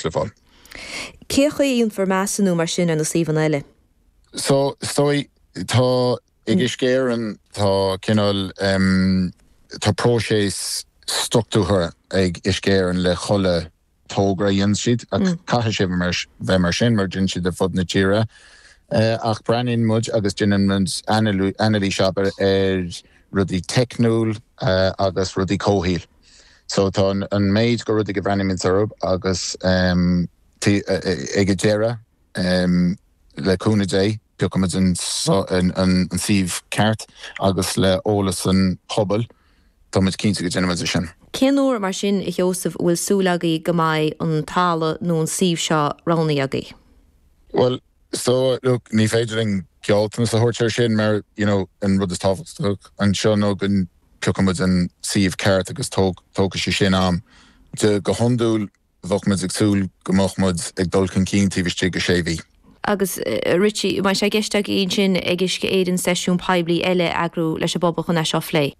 le fáil. Cén chaoi a dhéanfar measúnú mar sin ar na suíomhanna eile? So, is dóigh, tá, ag Uisce Éireann, tá cineál, tá próiseas struchtúrtha ag Uisce Éireann le chuile togra a dhéanann siad, ach caithfidh sé bheith mar sin mar déanann siad ar fud na tíre. Ach breathnaíonn muid agus déanann muid anailís abair ar rudaí teicniúil agus rudaí comhshaoil. So tá an méid go rudaí go bhreathnaímid orthu agus ag an deireadh, le cúnamh Dé, piocfaimid an suíomh ceart agus le eolas an phobail, táimid cinnte go déanfaimid é sin. Cén uair, mar sin, a Sheosaimh, a bhfuil súil agaibh go mbeidh an talamh nó an suíomh seo roghnaithe agaibh? Bhuel, so, look, ní féidir linn gealltanas a thabhairt ar sin mar, you know, an rud is tábhachtach anseo nó go bpiocfaimid an suíomh ceart agus tógfaidh sé sin am. Go hiondúil, Bheadh muid ag súil go mbeadh muid ag dul chun cinn taobh istigh de sé mhí. Agus Richie, an mbeidh sé i gceist agaibh ansin ag Uisce Éireann seisiún poiblí eile a eagrú leis an bpobal chun é seo a phlé?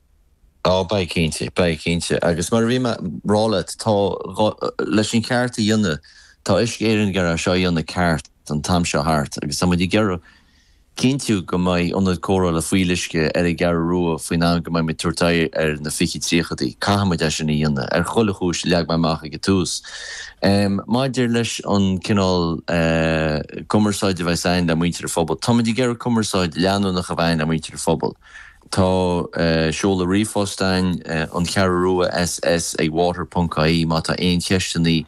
Á, beidh cinnte, beidh cinnte. Agus mar a bhí mé a rá leat, tá, leis an cheart a dhéanamh, tá Uisce Éireann ag iarraidh é seo a dhéanamh ceart an t-am seo thart agus tá muid ag iarraidh cinntiú go mbeidh ionad cóireála fuíolluisce ar an gCeathrú Rua faoin am go mbeidh muid ag tabhairt aghaidh ar na 2030idí. Caithfidh muid é sin a dhéanamh, ar chuile chúis a leag mé amach ag an tús. Maidir leis an cineál cumarsáide a bheas againn le muintir an phobail, táimid ag iarraidh cumarsáid leanúnach a bheith againn le muintir an phobail. Tá seoladh ríomhphost againn, an Cheathrú Rua SS ag water ponc ie, má tá aon cheisteanna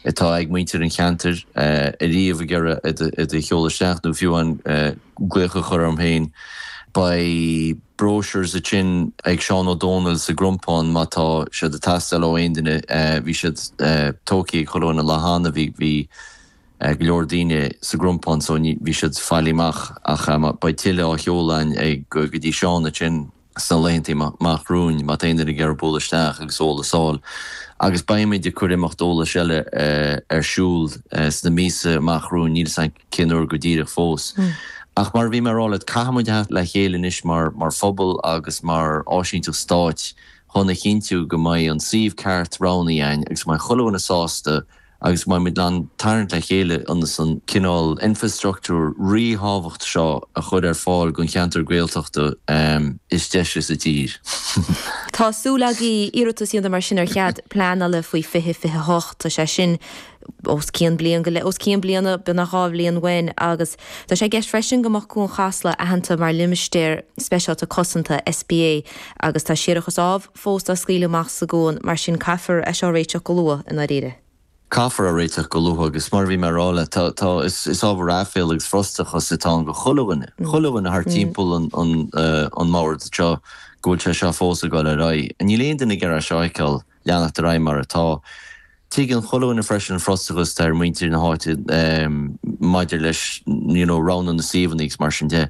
atá ag muintir an cheantair ariamh ag iarraidh iad a sheoladh isteach nó fiú amháin glaoch a chur orm féin. Beidh brochures ansin ag Seán Ó Dónaill sa gCrompán má tá siad ag teastáil ó aon duine. Bhí siad tógtha ag chuile dhuine an lá cheana. Bhí bhí go leor daoine sa gCrompán so ní bhí siad faighte amach ach beidh tuilleadh á sheoladh againn ag go dtí Seán ansin. sna laethanta amach romhainn, má tá aon duine ag iarraidh bualadh isteach agus eolas a fháil. Agus beimid ag cur imeacht eolais eile ar siúl sna míosa amach romhainn, níl 'fhios a'm cén uair go díreach fós. Ach mar a bhí mé a rá leat, caithfidh muid a theacht le chéile anois mar mar phobal agus mar áisínteacht stáit chun a chinntiú go mbeidh an suíomh ceart roghnaithe againn agus go mbeidh chuile dhuine sásta agus go mbeidh muid in ann tarraingt le chéile ionas an cineál infreastruchtúr ríthábhachtach seo a chur ar fáil don cheantar Gaeltachta is deise sa tír. Tá súil agaibh iarratas a dhéanamh mar sin ar chead pleanála faoi 2028. Tá sé sin os cionn bliain go leith, os cionn bliana, beagnach 2 bhliain uainn agus tá sé i gceist freisin go mbeadh Cuan Chasla aitheanta mar Limistéar Speisialta Cosanta, SPA, agus tá séarachas ámh fós á scaoileadh amach sa gcuan, mar sin caithfear é seo a réiteach go luath, i ndáiríre. Caithfear é a réiteach go luath agus mar a bhí mé a rá leat, tá, tá, is, is ábhar aiféala agus frustrachas atá ann do chuile dhuine, chuile dhuine thart timpeall an, an, an mbord seo go bhfuil sé seo fós ag dul ar aghaidh. Níl aon duine ag iarraidh é seo a fheiceáil leanacht ar aghaidh mar atá. Tuigeann chuile dhuine freisin an frustrachas atá ar mhuintir na háite maidir leis you know roghnú na suíomhanna agus mar sin de.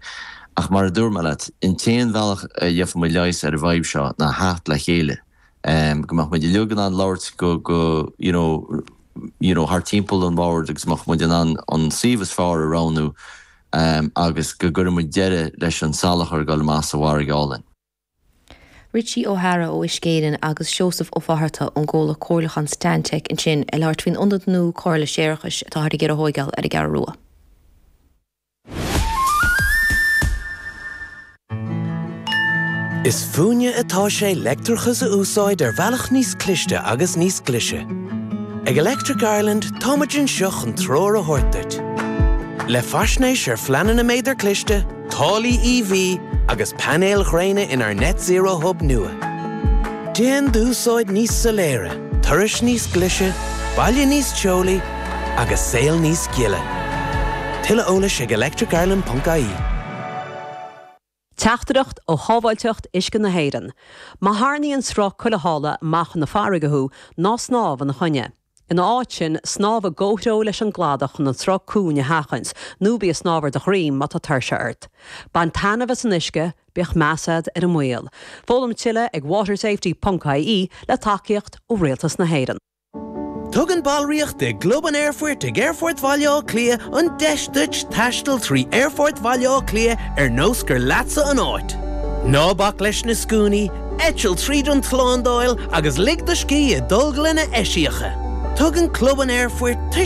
Ach mar a dúirt mé leat, an t-aon bhealach a gheobhaidh muid leigheas ar an bhfadhb seo ná theacht le chéile, go mbeadh muid uilig in ann labhairt go go you know you know thart timpeall an bhoird agus go mbeadh muid in ann an suíomh is fearr a roghnú agus go gcuirfidh muid deireadh leis an salachar ag dul amach sa bhfarraige álainn. Richie O'Hara ó Uisce Éireann agus Seosamh Ó Fátharta ón gcomhlacht comhairliúcháin Stantec ansin ag labhairt faoin ionad nua cóireála séarachais atáthar ag iarraidh a thóigeáil ar an gCeathrú Rua. Is fúinne atá sé leictreachas a úsáid ar bhealach níos cliste agus níos glaise. Ag Electric Ireland táimid anseo chun treoir a thabhairt duit. Le faisnéis ar phleananna méadar cliste, táillí EV agus painéil ghréine inár Net Zero Hub nua. Déan d'úsáid níos soiléire, turais níos glaise, baile níos teolaí agus saol níos gile. Tuilleadh eolais ag electricireland.ie. Teachtaireacht ó Shábháilteacht Uisce na hÉireann. Má tharraingíonn sruth culaithála amach chun na farraige thú, ná snámh ina choinne. Ina áit sin, snámh i gcomhthreo leis an gcladach chun an sruth cúng a sheachaint, nó bí ag snámh ar do dhroim má tá tuirse ort. Bain taitneamh as an uisce, bíodh meas agat ar an mbaol. Foghlaim tuilleadh ag watersafety ponc ie le tacaíocht ó Rialtas na hÉireann. Tugann ballraíocht i gClub an Aerfoirt ag Aerfort Bhaile Átha Cliath an deis duit taisteal trí Aerfort Bhaile Átha Cliath ar nós gur leatsa an áit. Ná bac leis na scuainí, Eitil tríd an tslándáil agus lig do scíth i dtolglanna eisiacha. Tugann Club an Aerfoirt tuiscint.